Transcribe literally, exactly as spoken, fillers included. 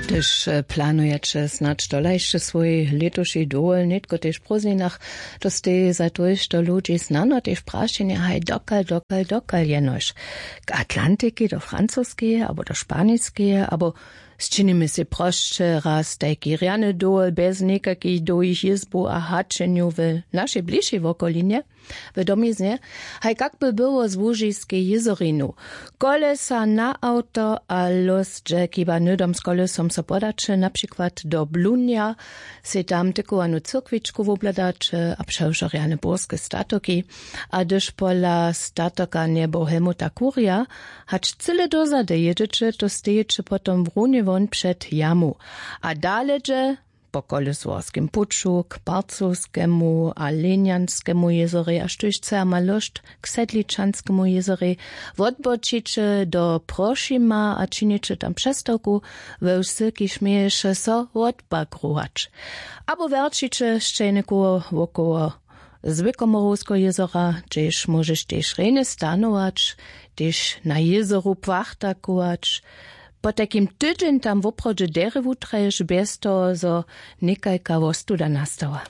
Hdyž planujeće snadź tola hišće swój lětuši dowol nětko tež w prózdninach, to stej za tójšto ludźi snano tež prašenje haj dokal dokal dokal jenož k atlantiki do francoskeje abo do španiskeje abo sčinimy sej prosće raz tajki rjany dowol bjez někakich dołhich jězbow a haćenjow w našej bližšej wokolinje, w domiznje, haj kak by było z łužiskej jězorinu. Kolesa na awto a lós dźe chiba hnydom z kolesom so podaće na přikład do blunja, sej tam tykowanu cyrkwičku wobhladaće a přewšo rjane burske statoki. A hdyž pola statoka njebow helmuta kurja hač cyle dozady jědźeće to stejeće potom w runje won před jamu. A dale dźe po kolesworskim puću k parcowskemu a lenjanskemu jězorej a štóž chce a ma lóšt k sedličanskemu jězorej. Wotbočiće do prošima a činiće tam přestawku we wsylki šměješe so wotbagrować. Abo wjerćiće sćelnikowo wokoło zwěkomorowskeho jězora hdźež móžeš tež rjenje stanować, tež na jězoru płachtakować. Potajkim tydźeń tam woprawdźe derje wutraješ bjez toho zo někajka wostuda nastała.